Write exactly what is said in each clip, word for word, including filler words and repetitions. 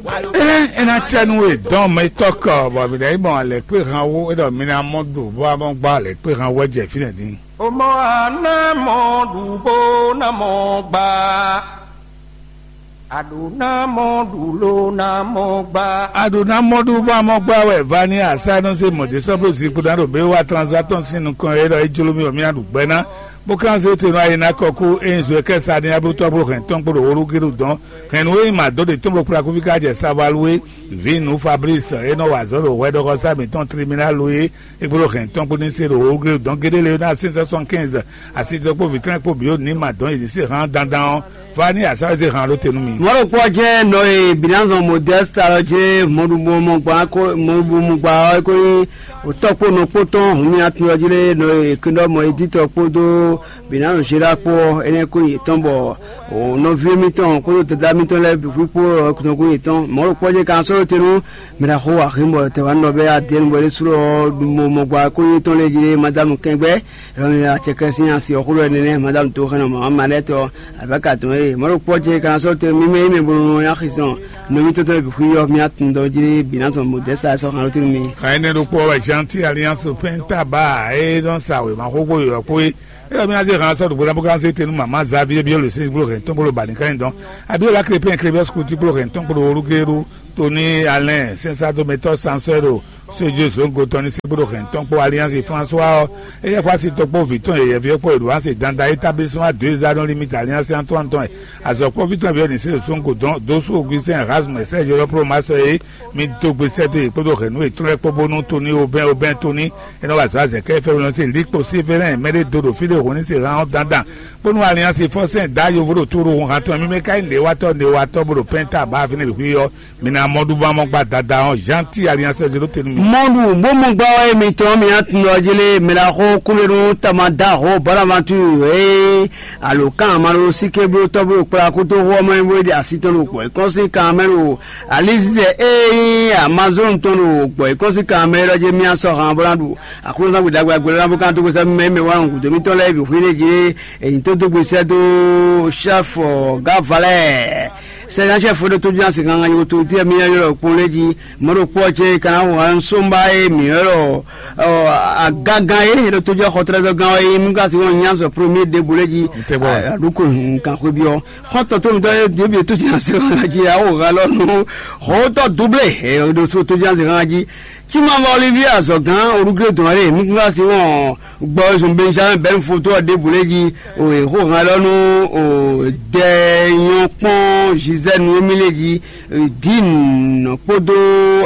Ɛ ɛ ná cɛ nú we dɔn mɛ tɔkɔ bɔ mi ɖe mɔ lɛ kpé han wo, é ɖɔ mi ná mɔ ɖu bó a mɔ gbá lɛ kpé han wɛ jɛ fínɛ dín. O mɔ a ná mɔ ɖu bó ná mɔ gbá. A ɖǒ ná mɔ ɖu ló ná mɔ gbá. A ɖǒ ná mɔ ɖu bó a mɔ gbá wɛ va ní asá nɔ se mɔ dé sɔ́ bó zikpó ná ɖo bé wá tranzatɔn sín nukɔn é ɖɔ é jló mì bɔ mì ná ɖu gbɛ ná. Bó kan zé te nɔ ayi ná kɔ kú é nyí zwe kɛ sa ní ablútɔ́ bó hɛn tɔn kpó ɖo wóɖú géɖú dɔn. Hɛn nú é nyí mǎ dó ɖe tɔn bó kplá kúfí ká jɛ Savalu é. Vǐ nǔ Fablísi é nɔ wa azɔ̌ ɖo hwɛɖɔxɔsá mǐtɔn Tliminálu é. É kpló hɛn tɔn kpó ní se ɖo wóglé dɔn géɖé lé ná sɛ́n sɛ́n sɔn kɛ́nzɛ. Asi tɔn kpó vǐ tɔn kpó bǐ ó ní ma dɔn yě ní se hán dandan ɔ́, vá ní asá zé hán ɖó te nú mi. Mɔ̌ ɖokpó ɔ́ jɛ́n nɔ e Binazɔn Modɛ́sta ɔ́ jlé mɔɖumɔmɔgba mɔɖumɔmɔgba ɔ́ é ko nyí òtɔ́ kpó nɔ kpó tɔn hun mì atún ɔ́ jlé nɔ e kúnɖɔ mɔ edítɔ kpódó Binazɔn Zéla kpó ɔ́, énɛ́ ko nyí yětɔn bɔ nɔví mitɔn kpódó dadá mitɔn lɛ́ɛ bǐ kpó ɔ́ nɔ ko nyí yětɔn. Mɔ̌ ɖokpó ɔ́ jɛ́n ka sɔ́ ɖó te nú Mɛ ɖaxó Aximɔ Tɛwánɔ bɛ́ Adɛ́ɛn bɔ é ɖésú ɔ́ ɖu mo mɔ gba kó nyí tɔn lɛ́ɛ jí ɖé Madámu Kɛngbɛ́, Acɛkɛ́ sín asi ɔ́ xó ɖɔ énɛ́, Madámu Toxɛnɔ Mama Malɛ́tɔ, abaka tɔn e mɔ̌ ɖokpó ɔ́ jɛ́n ka ná sɔ́ tɛn mímɛ́ yi mɛ bónú ná xizɔn nɔví tɔn tɔn e bǐ xwí ɔ́, mì atundɔ jí ɖé bǐ ná zɔn Modɛ́sa sɔ́ xan ɖó tɛ́nú mì. Xan énɛ́ ɖokpó ɔ́ wɛ Jean T Alliance Pɛ́ntaba e nɔ sa wěma xóxó yɔ̌yɔ́ kpó é. É ɖɔ mì ná zé han sɔ́ ɖo Vodafone kan se tenu mama Xavier Biolosé kpó hɛn tɔn kpó Balikani dɔn. Abiola Crépin Crébios Couti kpó hɛn tɔn kpó Olugero Tony Alain Sensado Metɔ Sansɔɛro Sojó Zongo tɔn ní sí kpó hɛn tɔn kpó Alliance François ɔ́. Éyɛ́ kpó asi tɔn kpó vǐ tɔn yɛyɛví ɔ́ kpó Edouard se dandan établissement deux anneaux limite Alliance Antoine tɔn ɛ. Azɔ̌kpɔ́ví tɔn bǐ ɔ́ ní se Zongo dɔn dó sú Augustin Erasme Serge Lɔplo Masɔ́ é. Mi dó gbe sɛ́ dó yě kpódó hɛ̌nnu yětɔn lɛ́ɛ kpó bónú Tony Aubin Aubin Tony é nɔ wa azɔ̌ azɛ̌ kɛ fɛ́nú nɔ se Likpo Sévérin mɛ ɖé do ɖo fí ɖé hǔn ní se hán ɔ́ dandan. Bónú Alliance Fɔsɛn dǎ yovo ɖo tóɖo hun hantɔn mímɛ́ ká nyí nǔɖéwatɔ́ nǔɖéwatɔ́ bó ɖo pɛ́nta bá fínɛ́ ɖo xwé ɔ́, mi ná mɔ ɖu bó ná mɔ gba dada ɔ́ Jean T Alliance zé ɖó te nú mi. Mɔɖu bó mɔ gbá wɛ mitɔn mi atundɔ jele mɛɖaxó kúlenu tamadaho bɔnavantu e alo kan amalo sike blo tɔblo kpla kuto xó ɔmɔ bo ɖe asi tɔn ɖo gbɔ kɔnsi kan mɛ ɖo alizizɛ e nyí amazon tɔn ɖo gbɔ kɔnsi kan mɛ ɖɔ je mia sɔ han bó ná ɖu aklúnɔzán gbe ɖagbe agbélé ná bó kan tó gbèsè mɛ mɛ wá nɔ gǔdo mitɔn lɛ́ɛ bǐ xwí ɖé jí. Èyí tó dó gbèsè dó chef gavalɛ sɛnɛ chef ɖo tó jí asi gangan yókò tó tí mi yɔ kpɔn lé jí. Mɔɖo kpɔ cɛ kana wɔ nsomba ye mi yɔ agagan ye ɖo tó jí xɔtrɛzɔ gan ye mi ka si wɔn nya sɔ premier débouler jí. Ntɛgbɔ. Aɖuko nkan xwe biɔ xɔtɔ tó mi tɔ ye diebi tó jí asi gangan jí awo ha lɔ nu xɔtɔ double ɖo tó jí asi gangan jí. Cimavɔ Olivier azɔgán olugre dɔn ale mi kún asi wɔn gbɔ zun Benjamin bɛn foto ɔ ɖebu lé jí o e xó han lɔ nu o dɛ nyɔ kpɔn Gisèle nu mi lé jí din kpódó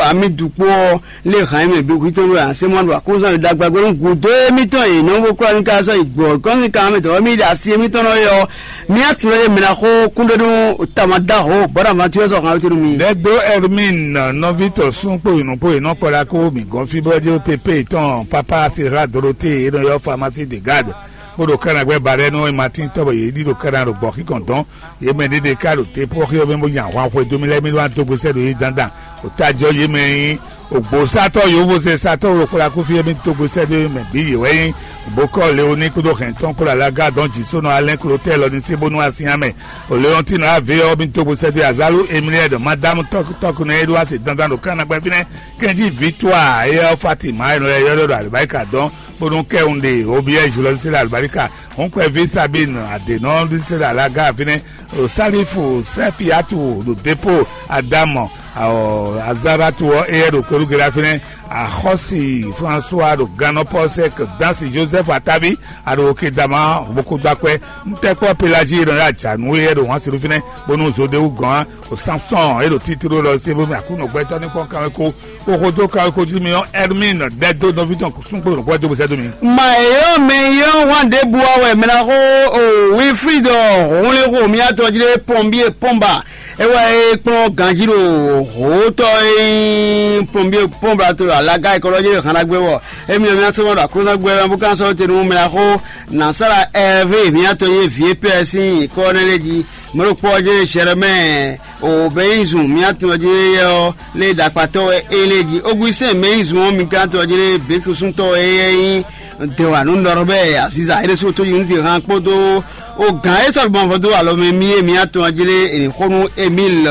amidu kpó ɔ lé han mɛ bi kuitɔ ɖo ase mɔ ɖo akózan ɖo dagba gbɛnu gudo émítɔn e nɔ bó kura ní ká sɔ yi gbɔ kɔn ní ká mɛ tɔ mi ɖe asi émítɔn nɔ yɔ mi atun lɛ mɛ na xó kúndé nú tamadaho bɔn na ma tuyɔ sɔ han tinu mi. Dɛdo Hermine nɔvi tɔ sún kpo yinu kpo yinɔ kpɔla kó mi gɔn fi bɔ jɛ pepe tɔn papa sera Dorothée e nɔ yɔ pharmacie de garde. Kpódò kánagbɛ́ ba ɖɛ́ nú Matín tɔ́ bɔ yě ɖi ɖo kána ɖo gbɔ̌ xíkɔn dɔn. Yě mɛ ɖéɖé ká ɖo te pɔ́ xí ɔ́ mɛ bó nya ahwan xwedó mì lɛ́ɛ mì ɖó ná dó gbe sɛ́ ɖo yě dandan. Ò tá jɔ yě mɛ nyí ògbósátɔ́ yǒvózɛ́sátɔ́ wokpla kúfí e mì dó gbe sɛ́ ɖó yě mɛ bǐ yě wɛ nyí. Bokɔ́ Leoní kpódó hɛn tɔn kpó Lalaga dɔn jǐ sónɔ Alɛ́n Klotɛ́ lɔ ní sí bónú asin amɛ. Ò Leɔntín ɔ́ vé ɔ́ mì dó gbe sɛ́ ɖó Azalu Emiliɛ́d Madámu tɔ́kútɔ́kú nɛ́ é ɖó ase dandan ɖo kánagbɛ́ fínɛ́. Kɛnjí Victoire e ɔ́ Fatima e nɔ lɛ́ ylɔ́ ɖɔ Alibarika dɔn bónú kɛ́wun ɖe Obiɛ́ Julɔ́sísé ɖo Alibarika. Hɔn kpɛví Sabine Adenɔ ɖisé ɖo Alaga fínɛ́. Salifu Sɛfiatu ɖo Depo Adamu Azaratu ɔ́ eyɛ ɖo Kpelugela fínɛ́. Axɔ́si François ɖo Gannɔpɔsɛk Dansi Joseph Atavi aɖo Kedama Bokodakpɛ ntɛkpɔ Pelagie ɖɔ ya dza nǔ eyɛ ɖo hɔn siɖu fínɛ́ bónú Zodewu gɔn o Samson e ɖo titlo lɔ se bómi Aklúnɔ gbɛtɔ́ ní kpɔ́n kanweko. Xoxo dó kawé xójú mi ɔ́, Hermine ɖɛ dó nɔví tɔn súngbó nǔgbó dó bó sɛ́ dó mi. Mà yɔ́ mɛ yɔ́ hwan ɖěbǔ ɔ́ wɛ mɛ ná xó o Wilfrid ɔ́, hɔnlɛ́nxó miatɔ́ jí ɖé pɔnbíe pɔnba é wɛ é kplɔ́n ganjí ɖo hǒtɔ́ e nyí pɔnbíe pɔnba to ɖo alaga e kɔlɔ́ jí ɖo hanagbé wɔ. Émi ɔ́, mía sɔ́ ma ɖo aklúnɔgbé wɛ bó ká sɔ́ te nú mɛ ná xó Nasara Ɛrvé miatɔ́ yé vǐ Pɛ́ɛ sín nyǐkɔ nɛ́ lɛ́ɛ jí. Mɔ̌ ɖokpó ɔ́ jɛ́n Zɛrɛmɛ́ɛ o Bɛnyizun mía tun ɔ́ jɛ́n éyɛ́ ɔ́ lé ɖakpatɔ́ wɛ é lé jí. Ógúsɛ́n Mɛyizun ɔ́ mi ka tɔ́ jɛ́n Běkusúntɔ́ wɛ éyɛ́ nyí. Dewanu Nɔrɔbɛ Aziza Eresu Tojinzi hãn kpódó o gǎn e sɔ́ gbɔn vɔ dó alɔ mɛ mì e mǐ atɔn jí lé è nǐ xo nú Emil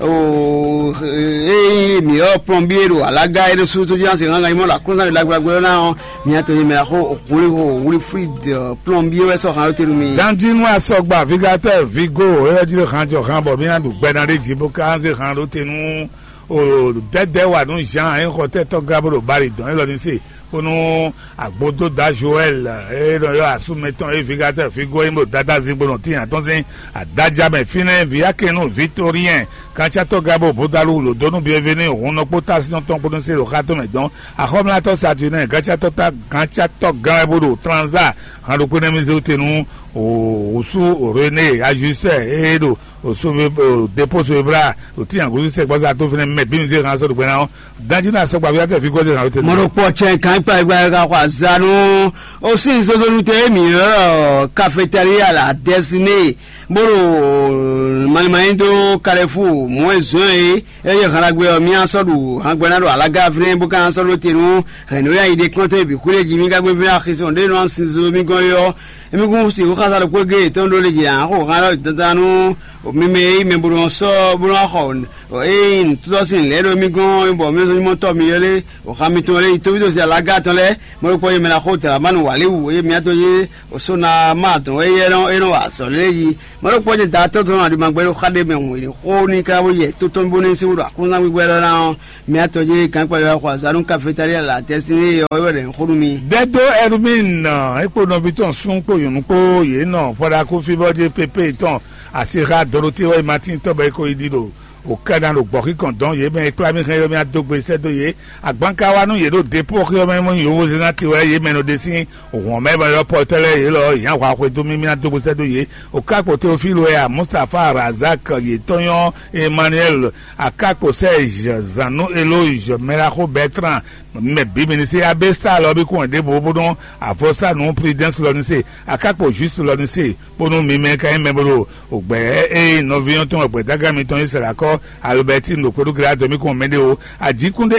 o e nyí mǐ ɔ́ plɔnbí e ɖo alaga Eresu Tojinzi hãn ganyi mɔ ɖo aklúnzán ɖagblagbe ɔ́ ná ɔ́, mǐ atɔn nyí mɛ ná xo Holiho Wilfrid plɔnbí e wɛ sɔ́ hãn ɔ́ tenu mì. Danjinu asɔgba vigatɛr vigo e wɛ jí ɖo hàn jɔ hàn bɔ mǐ ná ɖu gbɛ ná ɖé jí bó ká zé hàn ɖó te nú o dɛdɛ wa nú Jean e xɔ tɛtɔ gá bó ɖo bali dɔn élɔ́ ní se kpónú agbódóda Joël e nɔ yɔ asúmɛ tɔn e vigatɛr vigo e nyí ɖo dada zigbo nɔ tíin atɔ́n sín adájá mɛ fínɛ́ viyákɛnú Victorien kantsatɔ gá bó bódalu lǒdónú bienvenu hun nɔ kpó tásínɔ tɔn kpónú se ɖo xá tɔn mɛ dɔn axɔ́mlátɔ́ Saturnin kantsatɔ ta kantsatɔ gán wɛ bó ɖo tranza hàn ɖokpó nɛ́ mì zé wú te nú wǔsú René ajusɛ e ɖo o so be o depo so ebra o ti yan gosi sɛ gbɔza to fɛnɛ mɛ bi mi se kan so do gbɛna o danji na sɔ gbavi ake fi gosi kan o te. Mɔɖokpɔ tsɛ kan kpa gba ka xɔ azanu o si zozonu te mi yɔrɔ cafeteria la desine bolo malimayi do karefu mɔɛ zɔn ye eye hanagbɛ ɔ mi asɔ ɖu hanagbɛ na ɖo alaga fɛnɛ bo kan asɔ ɖo te nu hɛn no ya yi ɖe kɔntɛ bi xwile ji mi gagbe fɛnɛ axisɔn ɖe nɔ sinzin mi gɔn yɔ. Emi kún si xó xása ɖokpó géé tɔn ɖó lě jí ǎ, xo hán ɖɔ dandan nú mi mɛ e nyí mɛ bó nɔ sɔ́ bó nɔ xɔ ényí nǔtútɔ́ sín lɛ̌ ɖo mì gɔ́n bɔ mì zɔ́n nyí mɔtɔ́ mi ylé xá mitɔn lɛ́ɛ yi tóvídó sin alaga tɔn lɛ́ɛ, mɔ̌ ɖokpó nyí mɛ ná xó dlǎmánu wǎlíwǔ e mǐtɔn nyí Osonama dɔn é nɔ é nɔ wa azɔ̌ lɛ́ɛ yi. Mɔ̌ ɖokpó nyí da tɔ́ tɔn aɖimagbɛ ɖo xá ɖé mɛ hǔn xó ní ká bó yɛ tó tɔn bó ní sí wúɖu aklúnzángbígbɛ lɔ ná ɔ́, mǐtɔn jí gǎnkpalɛ wɛ xɔ azǎn nú kafetália lɛ atɛ́sín éyɛ́ ɔ́ wɛ ɖo nyǐxó nú mì. Dɛdó Ɛrmín é kpó nɔví tɔn sún kpó nyɔ̌nu kpó yě nɔ Fɔɖakúfí bɔ jí pépé tɔn asixa Dorotéwɛ Matín tɔn bɔ é ko yi ɖi ɖo wǒkɛ́ná ɖo gbɔ̌xíkɔn dɔn yě mɛ e kplá mì hɛn ylɔ́ mì adó gbe sɛ́ dó yě. Agbanka wá nú yě ɖo depóxi ɔ́ mɛ mɔ nyí yǒhwozɛ́n ná tiwɛ yě mɛ nɔ ɖe sín hɔn mɛ bɔ yɔ́ pɔtɛ́ lɛ́ɛ yě lɔ yě nyi ahwa xwedó mì mì adó gbe sɛ́ dó yě. Wǒká kpo Teofílu wɛ a Mustapha Razak yětɔn nyɔ́ Emmanuel Akakpo Serge Zanu Eloge Mɛlaxo Bertrand mɛ bǐ mi ní se Abesta lɔ bí kún wɛ ɖěbǔ bónú avɔsá nǔ Prudence lɔ ní se Akakpo Juste lɔ ní se bónú mi mɛ ka nyí mɛ bó ɖo ògbɛ ée nɔví ɔ́ tɔn wɛ gbɛ̌dágán mitɔn Israɛl akɔ Albertine ɖo kpɛɖú Gilado mì kún mɛ ɖé o. Ajíkúnɖé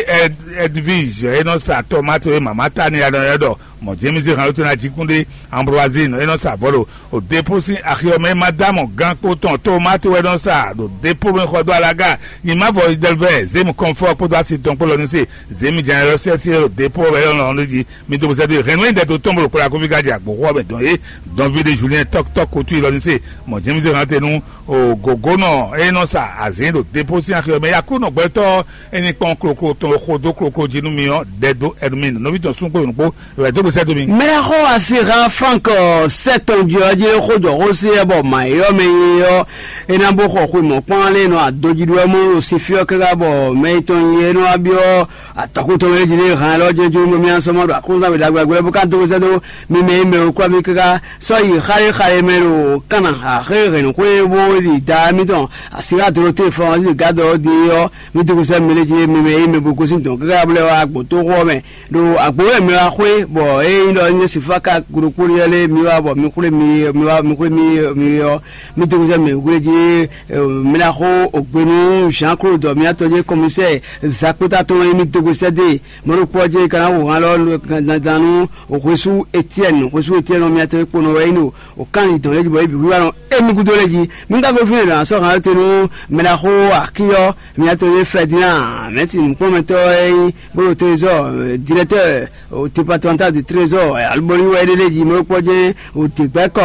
Edwige e nɔ sa tomate e mama Tania nɔ ylɔ́ ɖɔ mɔ James hàn lótó ná Ajíkúnɖé Ambroisine e nɔ sa vɔ̌ ɖo o depo sín axi ɔ́ mɛ. Madame gán kpó tɔn tomate wɛ nɔ sa ɖo depo mɛ xɔ dó alaga. Nyi mavɔ Idelvɛ zémi kɔnfɔ kpódó asi tɔn kpó lɔ ní se zémi jɛn yɔ sɛsɛ ɖo depo wɛ yɔ lɔn ɖo jí. Mi do sɛ do hɛn nú ɛdɛ tó tɔn bolo kpla kó fi ka jɛ agbǒxɔ mɛ dɔn é dɔn vi de Julien tɔk tɔk ko tu ilɔ ní se mɔ James hàn te nú o gògónɔ e nɔ sa azǐn ɖo depo sín axi ɔ́ mɛ. Yakú nɔ gbɛtɔ́ e ní kpɔn kloklo tɔn xo dó kloklo jí nú mi ɔ́, dɛ dó ɛnu mi nɔví tɔn sún kpó nǔkpó wɛ dó gbèsè dó mi. Mɛɖexɔ asiha Frank sɛtɔn jɔ jí xó jɔ xó sí ɛ bɔ mǎ yɔ mɛ yi ɔ́, é ná bó xɔ xwe mɔ̌kpán lé nɔ adodzi ɖó ɛ mɔ ɖo si fí ɔ́ káká bɔ mɛ yi tɔn yi é nɔ wá byɔ́ atɔkùn tɔn wɛ jí lé hàn lɔ jɛjɛ mo mi asɔmɔ ɖo akúnzán wɛ ɖagbe ɖagbe bó ká dó sɛ dó mi mɛ yi mɛ o kura mi káká sɔ yi xáyé xáyé mɛ ɖo kánà axé hɛn xwé bó ɖi da mi tɔn asiha doro te fɔn ɔ́ gadɔ ɔ́ di ɔ́ mi dó sɛ mi lé jí mi mɛ yi mɛ bó gosín tɔn káká bó lɛ wá gbɔn tó xɔ mɛ ɖo agbo wɛ mɛ wá xwé bɔ é nyí ɖɔ nyɛ sinfá ka goɖokpó ɖé lé mi wá bɔ mi xwlé mi mi wá mi xwlé mi mi ɔ́ mi dó sɛ mi xwlé jí mi ná xó ògbénu Jean Claude miatɔ jɛ commissaire zakpota tɔn mi dó sɛ dé mɔɖokpɔ jɛ kana wò hàn lɔ dandan nú òxwésú Etienne òxwésú Etienne miatɔ kponɔ wɛ yín o òkánni dɔn lé jí bɔ ebi wíwá nɔ émi gúdo lé jí mi ka gosín lɛ asɔ hàn te nú mɛ ná xó akíyɔ miatɔ jɛ Ferdinand mɛtì nukpɔmɛtɔ yín bolo trésor directeur au départemental de trésor alubɔli wɛ ɖe ɖe yi mɛ kpɔ jɛ o te gbɛ kɔ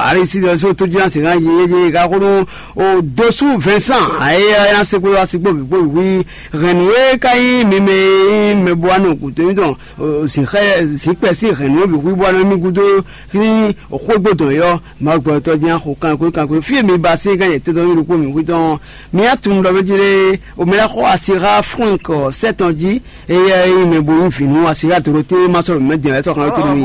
alisi dɔ so to jina se kan yi ye ka ko no o dosu Vincent aye ya se ko asi kpo kpo wi hɛn we ka yi mi mɛ mɛ bua no kuto mi dɔn o si xɛ si kpɛ si hɛn no bi wi bua no mi gudo ki o xo gbo dɔn yɔ ma gbɔ tɔ jina ko kan ko kan ko fi mi ba se kan ye te dɔn mi ko mi wi dɔn mi atun dɔ mi jire o mi la xɔ asi ha franc sept ans ji Eya e nyí mɛ bo nyí vǐ nú asi ɖó adodó té ma sɔ́ ɖo mǐmɛ́ din ǎ, é sɔ́ xan ɖó té nú mì.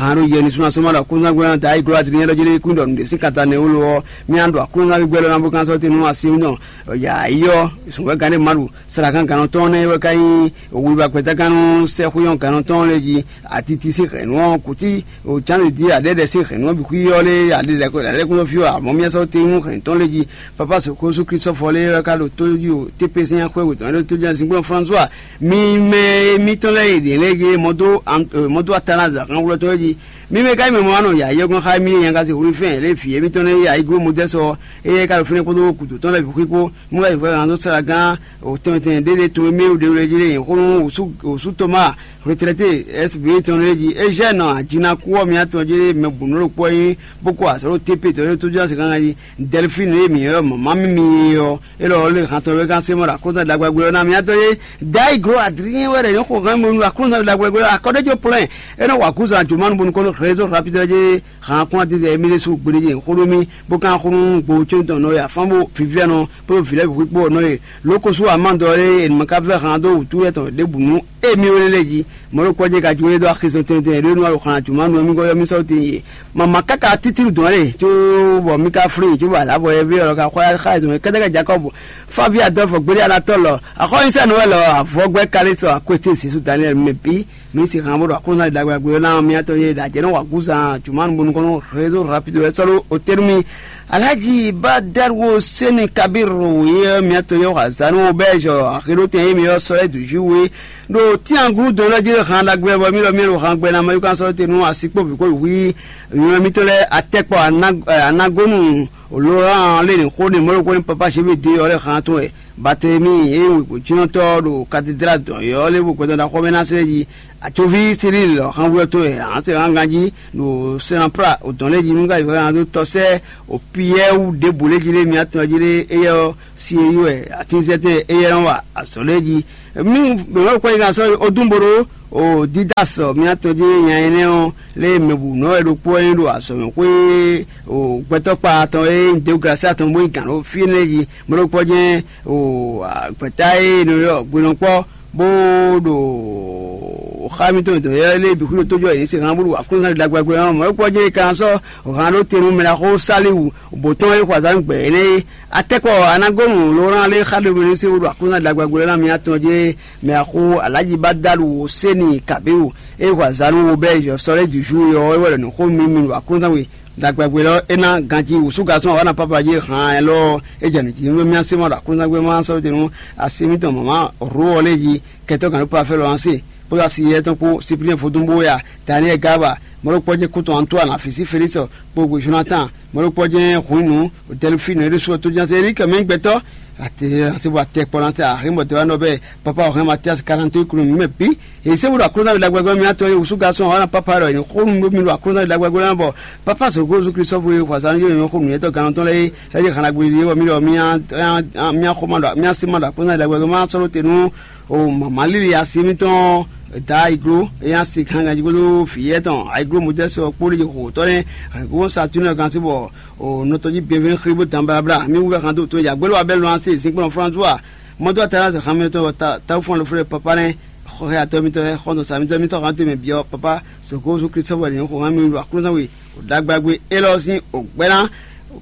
Ahan ɖo yɛ ní súnnu asɔ́ ma ɖo aklúnúzángbe ɔ́ da yi glɔ́ adilin ɖɔ jí lé kún ɖɔ nǔɖé sín kata nɛ́ wú lo ɔ́, mì a ɖo aklúnúzángbe gbɛ́ lɔ ná bó kán sɔ́ te nú asi mì nɔ. Yǎ yi ɔ́, sǔnwɛ́gán ɖé ma ɖu srakan gannɔ tɔn nɛ́ wɛ ka nyí wiwa gbɛtágannú sɛ́xwé ɔ́ gannɔ tɔn lɛ́ɛ jí. Atiti sín hɛ̌nnu ɔ́ kutí o cánde jí aɖɛ́ɖɛ sín hɛ̌nnu ɔ́ bǐ xwí ɔ́ lé aɖɛ́ɖɛ lɛ́kúnfí ɔ́ ǎ, mɔ̌ mì sɔ́ te nú hɛ̌nnu tɔn lɛ́ɛ jí. Papa soko sú Klísɔ́fɔ lé wɛ ka ɖo tó jí o T P C axwé wětɔn ɖo tó jí Azinkplɔ́n François. Mi mɛ mitɔn lɛ́ɛ e ɖě lɛ́ɛ yé mɔ dó mɔ dó Atanazi axánwlɔ tɔn é jí. Mi mɛ ka nyí mɛ mɔ wá nɔ yǎyí ɔ́ gɔ́n xá mì é nyagaze wlí fɛ́n lě fǐ émítɔn lɛ́ɛ yǎyí gló Modɛ́sɔ, éyɛ́ ka ɖo fínɛ́ kpódó gǔdo tɔn lɛ́ɛ bǐ xwí kpó. Mú wá yi hwɛ hǎn dó sala gán tɛnmɛ tɛnmɛ ɖé ɖé to émí ɖě wlɛ́ jí lé nyǐ xó nú wǔsú Tɔmáa retrɛté S B tɔn lɛ́ɛ jí. Ezɛ́ɛ nɔ ajinakú ɔ́ mǐtɔn jí lé mɛ bǔ nú ɖokpó ɔ́ nyí bó kó azɔ̌ ɖo T P tɔn lɛ́ɛ tó jí ɔ́ se gángan jí. Dɛlifíni e mǐ ylɔ́ mɔ̌ ma mímí é ɔ́, élɔ́ ɔ́ lé hantɔn wɛ gán Semɔ́ɔ ɖo aklúnɔ́ ɖagbagbé ɔ́ ná mì átɔ́ yé. Dayi glo adlín wɛ ɖɔ nyɔ̌ xo hɛn mɔnu ɖo aklúnɔ́ ɖagbagbé ɔ́ akɔ́ ɖé jó plɛ́n. É nɔ wa gúzan jǒmánu bónú kɔn nú rézó rapidɔ jé han kún adídɛ émí ɖésú gbeɖé jɛ xó ɖó mì, bó kán xó nú gbo có tɔn nɔ e afán bó vǐvɛ́nɔ kpódó vǐ lɛ́ɛ bǐ xwíkpó ɔ́ nɔ e. Lǒ ko sú amán dɔ ɔ́ lé e nǔ ma ka vɛ́ han dó wǔtu yɛ́tɔn ɖěbǔ nú émí wé lɛ́ɛ jí. Mɔ̌ ɖokpɔ́ jɛ ka jó é dó axizɔn tɛntɛn ɖé nú alɔxan jǒmánu ɔ́ mí gɔ́ yɔ́ mí sɔ́ tɛn yě. Mama káká títílu dɔn lé có bɔ mí ka flín có bɔ alǎ bɔ yɛví ɔ́ ka xɔ xá dɔn kɛ́tɛ́kɛ Jakɔ́bu. Fáví Adɔlfu gbéɖé alatɔ́ lɔ axɔ́nyísɛ́nú wɛ lɔ avɔgbɛ́ Kalixɔ akwété Zesu Daniɛli mɛ bǐ. Mǐ si han bó ɖo aklúnɔ́ ɖagbe agblo ná miatɔn yé ɖo ajɛ nɔ wa gúzan jǔmánu bónú kɔn nú rézo rapido wɛ sɔ́ ɖó otɛ́nú mì. Alhaji Badarwo Seni Kabir wòye miatɔn yɛ wa zanu bɛ́ jɔ axéɖótɛn yé mi ɔ́ sɔ́ é dǔ jí we ɖo tíangúdɔn lɔ jí han ɖagbe bɔ mí lɔ mí ɖo han gbɛ ná mɛ yúkan sɔ́ te nú asi kpó vǐ kpó wǐ nyɔ̌ mítɔn lɛ́ɛ atɛkpɔ anagonu Laurent lé ní xó ní mɔ̌ ɖokpó ní papa Zebedée ɔ́ lɛ́ han tɔn wɛ. Bartelemi e nyí wěgbójínɔtɔ́ ɖo katedráli dɔ̌n ɔ́ lé bó gbɛtɔ́ ɖaxó mɛ ná slɛ́ jí. Atyoví Silíi lɔ han wɛ tɔn wɛ han se han ganjí ɖo Sɛnapla o dɔn lɛ́ɛ jí nú ka yi han dó tɔ́ sɛ́ o Piyɛ́ɛ wú ɖěbǔ lɛ́ɛ jí lé mi atɔn jí lé éyɛ́ ɔ́, si e yí wɛ atínzɛ́tɛn éyɛ́ nɔ wa azɔ̌ lɛ́ɛ jí. Mí mɛ̌ wɛ kwɛ́ yi kan sɔ́ odún bo ɖó o Didas miatɔn jí nya énɛ́ ɔ́ lé mɛbǔnɔ wɛ ɖokpó wɛ nyí ɖo azɔ̌mɛxwé o gbɛtɔ́kpa tɔn e nyí Deoglasi tɔn bó nyí gǎn ɖo fí énɛ́ jí. Mɛ ɖokpó jɛ́n o gbɛ̌ta e è nɔ ylɔ́ hwenɔkpɔ́ bó ɖo xá mítɔn dɔ̌n yɛ́ lé bǐ xwíɖó tójó wɛ yě se hán bó ɖo aklúnɔ́ ɖagbagbɛ ɔ́ mɔ̌ é kpɔ́ jɛ́n é kan sɔ́ hǎn ɖó te nú mɛɖaxó Saliwu bǒ tɔn e xɔ azǎn gbɛ énɛ́ é. Atɛ́kpɔ Anagonu Lorán lé xá ɖomɛ ní sé bó ɖo aklúnɔ́ ɖagbagbɛ ɔ́ ná miatɔn jɛ́n mɛɖaxó Alǎji Badalu Séni Kabéwu e xɔ azǎn nú Wobɛ́ Zɔsɔ́ lɛ́ɛ jǔjú é ɔ́ é wɛ ɖɔ nǔxó nú mì ɖo aklúnɔ́ we ɖagbagbɛ lɔ é ná ganjí wǔsú gasɔ́n awana papa jí hǎn élɔ́ é jɛ nǔ jí nú mì así ma ɖo aklúnɔ́ gbé ma sɔ́ te nú asi mítɔn mama Ró ɔ́ lɛ́ɛ jí kɛtɔ́ gǎn ɖó Pafɛ́lɔ ɔ́ se, kpódó asi yɛ́tɔn kpó Siplín vodúnbó ya Daniɛ́li Gába, mɔ̌ ɖokpɔ́ jɛ́n kútɔn Antoine afǐsí Felísɔ kpó gbe Jonatán, mɔ̌ ɖokpɔ́ jɛ́n hǔn nǔ Dɛlifínu é ɖésú ɔ́ tó jɛ́n Erike mɛ nyí gbɛtɔ́. Ate asi bɔ atɛ kpɔ ná tɛ axí bɔ te wá nɔ bɛ papa ɔ́ hɛn Matiasi kalantó kunu mɛ bǐ. Èyí sɛ́ bó ɖo aklúnɔ́ ɖagbagbá mì atɔn é wúsú gasɔn ɔ́ ná papa ɖɔ è ní xó nú mì ɖo aklúnɔ́ ɖagbagbá ná bɔ papa sɔgó Jezu Kristu sɔ́ xwazán yó nyɔ̌ xó nǔnywɛ́tɔ́ gannɔtɔn lɛ́ɛ é é jɛ xana gbéɖé bɔ mì ɖɔ mì á xɔ ma ɖɔ mì á sí ma ɖɔ aklúnɔ́ ɖagbagbá má sɔ́ ɖó te nú o mama líli asi mítɔn da ayiglo é nya si kankan jí kpódó vǐ yɛ́ tɔn ayiglo mɔtɛ́ sɔ kpó ɖé xo tɔ́ nɛ́. Ayiglo satúnɛ kan sí bɔ o nɔtɔn jí bienvenu xlí bó dan blabla mì wú kan tó tó ya gbélé wa bɛ́ lɔn asi zinkplɔn François mɔtɔ ta se xamɛ tɔn tawu fún alɔ fúnɛ papa nɛ xɔxɛ atɔ mitɔ xɔntɔn sa mitɔ mitɔ xantɔ mɛ biɔ papa soko su Kristo wɛ ní xɔ hàn mi ɖo aklúnɔ we o ɖagbagbe élɔ́ sín o gbɛ́ná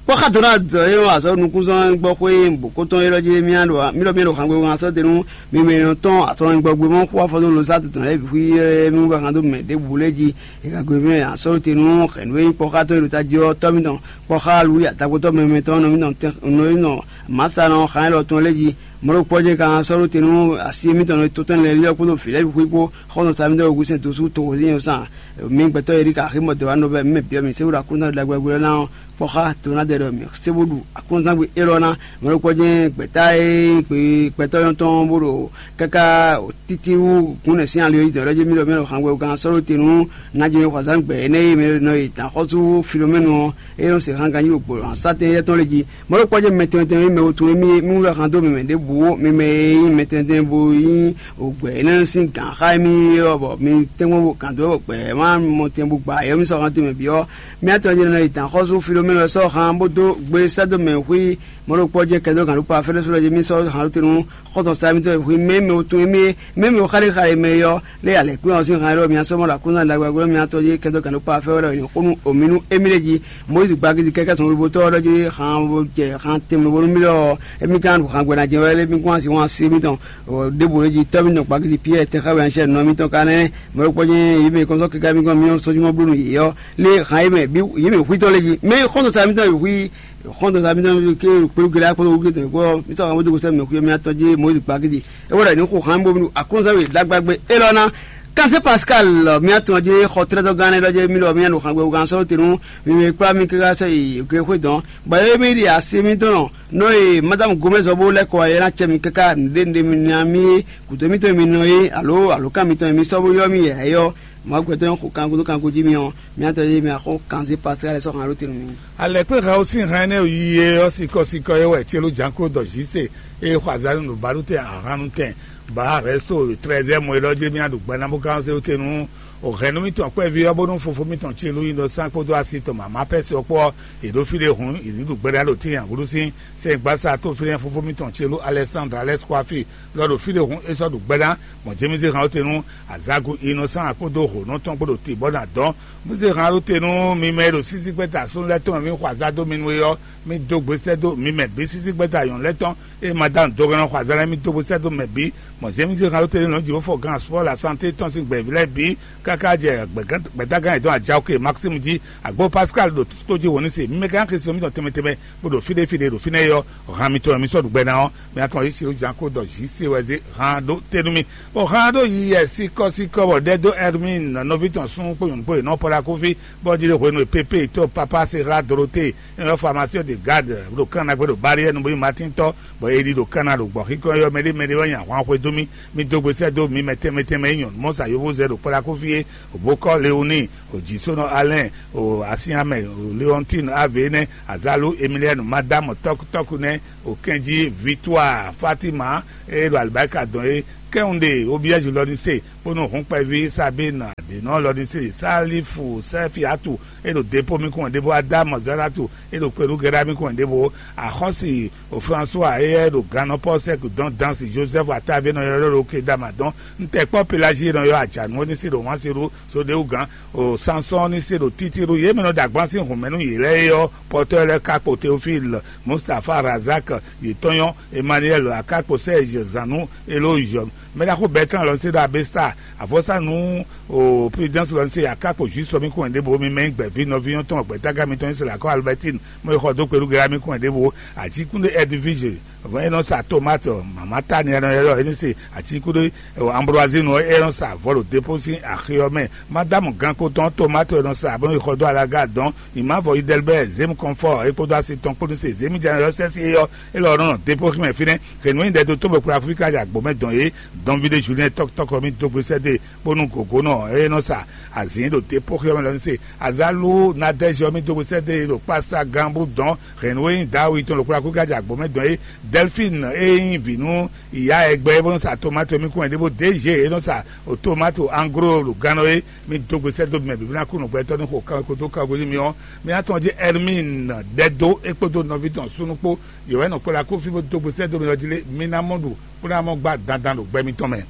kpɔ́ xá dɔn ná dɔ é nɔ azɔ nukúnzɔn gbɔ xwé bòkótɔn élɔ́ jí mía ɖo mí ɖɔ mí ɖo xangbe wọn asɔ denu mi mɛ nɔ tɔn asɔ gbɔ gbé mɔ xó afɔ dó lo sá tɔn lɛ bixi mi wú kan dó mɛ ɖěbǔ lé jí ìgàgbé mɛ asɔ tenu xɛnu é kpɔ́ xá tɔn é ɖo tají ɔ́ tɔ́ mitɔn kpɔ́ xá lu ya takpótɔ́ mɛ mɛ tɔn nɔ mitɔn nɔ mitɔn màsá nɔ xá élɔ́ tɔn lé jí mɔɖó kpɔ́ jɛ kan sɔ́ ɖó te nú asi mitɔn to tɛn lɛ liɔ kpódó vǐ lɛ́ɛ bǐ xwíkpó xɔ́ntɔn sa mitɔn wegusɛn dó sú toxo zín ɔ́ sán. Mi gbɛtɔ́ Erika aximɔ dɔ̌ wá nɔ bɛ́ mɛ byɔ́ mi sébúɖu aklúnɔ́ ɖagbe ɔ́ ná ɔ́ kpɔ́ xá to ná ɖɛ ɖɔ mi sébúɖu aklúnɔ́ élɔ́ ná mɔɖó kpɔ́ jɛ gbɛ̌ta e gbe gbɛtɔ́ nyɔ́tɔn bó ɖo káká títí wú gǔnɛ sín ali ɔ́ yi dɔ̌ ɖɔ jí mí ɖɔ mí ɖo xangbɛ gán sɔ́ ɖó te nú nájínɔ xɔzán gbɛ énɛ́ e mɛ nɔ yi dǎn xɔ́sú Filomɛ́nu ɔ́ é nɔ se hán ganjí ɖo gbǒ sátɛn éyɛ́ tɔn lé jí. Mɔ̌ ɖokpɔ́ jɛ́n mɛ tɛnmɛ tɛnmɛ e mɛ wutun émí mí wú wɛ han dó mɛ mɛ ɖěbǔ ó, mi mɛ e nyí mɛ tɛnmɛ tɛnmɛ bo nyí ògbɛ énɛ́ sín gǎn xá émí ɔ́, bɔ mi tɛ́nkpɔ́n bo gǎn dó wɛ gbɛ ma mɔ tɛn bo gba yɔ́mísɔ́ han tɛnmɛ bǐ ɔ́, mía tɔn jɛ́n nɔ yi dǎn xɔ́sú Filomɛ́nu ɔ́ sɔ́ han bó dó gbe sɛ́ dó mɛ xwí Mɔ̌ ɖokpɔ́ jɛ́n kɛdó gǎn ɖó pa fɛ́nɛ́ sú ɖɔ jí mì sɔ́ han ɖó te nú xɔ́ntɔn Sami tɔn e hwi mɛ mɛ o tun émí e mɛ mɛ o xáɖé xáɖé mɛ é ɔ́, lé alɛ̌kpín ɔ́ sín han e ɖɔ mǐ sɔ́ mɔ ɖo Aklúnɔ ɖagbe agblo mǐtɔn jí kɛdó gǎn ɖó pa fɛ́ wɛ ɖɔ è nǐ xo nú omǐ nú émí ɖé jí. Mɔyízi gbagidi kɛ́kɛ́ tɔn lobo tɔ́ ɔ́ ɖɔ jí han jɛ han tɛnmɛ bo nú mì ɖɔ émí ka ɖo han gbɛ́ ná jɛ wɛ lé mí kún asi wán sí émítɔn. Ɖěbǔ ɖé jí tɔ́ mǐtɔn gbagidi Piyɛ́ɛ tɛnxá we anṣɛ nɔ mítɔn ka nɛ́. Mɔ̌ ɖokpɔ́ jɛ́n yě mɛ kɔnsɔ́ kɛká mí gɔ́n mǐ sɔ́ jí mɔ bló nú yě ɔ́, lé han é mɛ bǐ yě mɛ xwítɔ́ lé jí mɛ xɔ́ntɔn sa mítɔn e hwí xɔ́ntɔn sa mítɔn ké kpéɖu gélé akpɔ́n wúgbé tɔn kpɔ́ mítɔn àwọn bójú sɛ́ mɛ xwé mí atɔn jí Moyizi gbagidi é wɛ ɖɔ ní xo han bó mí ɖo aklúnɔzán we ɖagbagbé élɔ́ ná. Kanse Pascal mí atɔn jí xɔ tlɛ́tɔ́ gán nɛ́ ɖɔ jí mí ɖɔ mí nya ɖo han gbɛ wúgán sɔ́ te nú mi mɛ kplá mí káká sɛ yi gbe xwé dɔn bɔ é mí ɖi asi mítɔn nɔ nɔ e madame Gomez ɔ́ bó lɛ́ kɔ wá é ná cɛ mí káká nǔɖé nǔɖé mi ná mí é gǔdo mítɔn e mi nɔ é alo alǒkan mitɔn e mi sɔ́ bó ylɔ́ mì yɛ̌yɔ́. Mɔ̌ gbɛtɔ́ nyɔ́ xo kango dó kango jí mì ɔ́, mì atɔn e mì axɔ́ kanzé pasɛ́ lɛ́ɛ sɔ́ han ɖó te nú mì. Alɛ̌kpé hɛn ɔ́ sín hɛn énɛ́ yi é ɔ́ sikɔ sikɔ é wɛ Celú Janko ɖɔ Zise e xɔ azǎn nú nǔbálú tɛn ahan nú tɛn bǎ rɛ̌sto trɛzɛ́mu é ɖɔ jí mì aɖu gbɛ ná bó gán zé wú te nú o hɛ̌nnu mitɔn kpɛví ɔ́ bónú fofó mitɔn Celú nyi nɔ sán kpódó asi tɔn mama pɛ́si ɔ́ kpó ɔ́, è ɖó fí ɖé hǔn è ní ɖu gbɛ ná ɖo tíin ahlúsín sɛngbásá tó fínɛ́ fofó mitɔn Celú Alɛsándra Lɛ́skwafi lɔ ɖo fí ɖé hǔn é sɔ́ ɖu gbɛ ná. Mɔ̌ jɛ́n mì zé han ɔ́ te nú azágu Inɔsán kpódó hǒnɔ tɔn kpó ɖo tibɔ́ ná dɔn. Mì zé han ɖó te nú mi mɛ e ɖo sísí gbɛ́ta súnnu lɛ́ɛ tɔn mɛ mì xɔ azá dó mi nú é ɔ́, mì dó gbe sɛ́ dó mi mɛ bǐ sísí gbɛ́ta nyɔ̌nu lɛ́ɛ tɔn e ma dó anu dó gɔ́ ná xɔ azá lɛ́ɛ mì dó gbe sɛ́ dó mɛ bǐ. Mɔ̌ zɛ́n mì zé han ɖó te nú nɔ̌ jǐxófɔ gán spɔ́ la santé tɔn sín gbɛ̌ví lɛ́ɛ bǐ káká jɛ gbɛ̌tagán yětɔn Ajaoke Maxime jí. Agbo Pascal ɖo tó jí wǒ ní se. Mi mɛ gán Kristo mitɔn tɛnmɛ tɛnmɛ bó ɖo fí ɖé fí ɖé ɖo fínɛ́ é ɔ́, han mitɔn wɛ mi sɔ́ ɖu gbɛ ná ɔ́, mi atɔn yí Silu Janko ɖɔ jǐ se wɛ zé han ɖó te nú mi. Bɔ han ɖó yi yɛ sikɔ́sikɔ́ bɔ ɖɛ dó Hermine nɔví tɔn súnnu kpó nyɔ̌nu kpó yě nɔ pɔ́ ɖo akúfí, bɔ jí ɖo hwenu e Pepe to Papa Sera Dorote e nyɔ́ Formation de Garde ɖo kán ná gbé ɖo Barrière nu bó nyí Matín tɔ́, bɔ è ɖi ɖo kán ná ɖo gbɔ̌xíkɔ́ ɔ́, mɛɖé mɛɖé wɛ nyi ahwan xwedó mì, mì dó gbe sɛ́ dó mi mɛ tɛnmɛ tɛnmɛ e nyɔ̌nu mɔ sa yovózɛ ɖo kpɔ́ ɖo akúfí é, Bokɔ Leoni, Jisonɔ Alɛn, o Asiamɛ, o Leɔntin Ave nɛ́, Azalu Emiliɛnu Madamu tɔ́kútɔ́kú nɛ́, o kɛnjí Vitua Fatima e ɖo alibarika dɔn é, kɛnwunɖe Obiɛzi lɔ ní se, bónú hǔnkpɛví Sabine Adenɔ lɔ ní se, Salifu Sɛfiatu e ɖo Depo mi kɔn ɖěvo, Adamu Zalatu e ɖo Kpelugɛɖa mi kɔn ɖěvo, Axɔ́si o François e ɖo gannɔ Pɔsɛk dɔn dansi Joseph Atavi nɔ ylɔ́ ɖo Kedama dɔn, ntɛkpɔ Pelagie nɔ ylɔ́ Ajanu ɔ́ ní se ɖo Wanseɖu Sodewugán, o Sansɔ́n ní se ɖo Títílu, yě mɛ nɔ ɖo agban sín hǔnmɛ nú yě lɛ́ɛ é ɔ́, Pɔtɔ́ lɛ́ɛ ka kpo Teofil, Mustapha Razak, yětɔn nyɔ́, Emmanuel Akakpo, Serge Zanu, Eloge, mɛɖaxó Bertrand lɔ ní se ɖo Abesta, avɔsa nú o Prudence lɔ ní se Akakpo Juice mi kɔn ɖěvo, mi mɛ gbɛ̌ví nɔví nyɔ́ tɔn gbɛ̌taga mitɔn Israel akɔ Albertine, mɔ e xɔ dó kpelú gɛ́ra mi kɔn ɖěvo, Ajíkúndé Edwige, vɔn e nɔ sa tomate, mama tani e nɔ ylɔ́ é ní se Ajíkúndé Ambroisine ɔ́, é nɔ sa vɔ̌ ɖo Depo sín axi ɔ́ mɛ. Madamu gankpotɔn tomate e nɔ sa bɔ é xɔ dó alaga dɔn, Imavɔ Idelbert, Zem Confort, é kpódó asi tɔn kpó ní se Zemi Janayɔ sɛ́si é ɔ́, é lɔ nɔ Depo xí mɛ fínɛ́. Hɛ̌nnu e nyí ɖɛdó tɔn bɔ kplá Aflíka ya gbǒ mɛ dɔn é, dɔnví ɖé Julien tɔkutɔkɔ mi dó gbe sɛ́ dó e, bónú gǒgónɔ e nɔ sa azǐn ɖo Depo xí ɔ́ mɛ lɔ ní se. Azalu Nadège ɔ́ mi dó gbe sɛ́ dó e ɖo kpása gánbú dɔn. Hɛ̌nnu e nyí Dawid tɔn ɖo kplá Aflíka ya gbǒ mɛ dɔn é, Delphine e nyí vǐ nú ìyá ɛgbɛ é bó nɔ sa tomato mi kún wɛ ɖěvo, Dégé e nɔ sa tomato anglo ɖo gannɔ é, mi dó gbe sɛ́ dó mɛ bǐ ná kú nǔgbɛtɔ́ ní xo kanwekó dó kanwekó nú mi ɔ́, mi ná tɔn jí Hermine ɖɛ dó é kpódó nɔví tɔn súnnu kpó. Yě wɛ nɔ kplɔ́ akófí bó dó gbe sɛ́ dó mi ɔ́ jí lé, mi ná mɔ ɖu bó ná mɔ gbá dandan ɖo gbɛ mitɔn mɛ.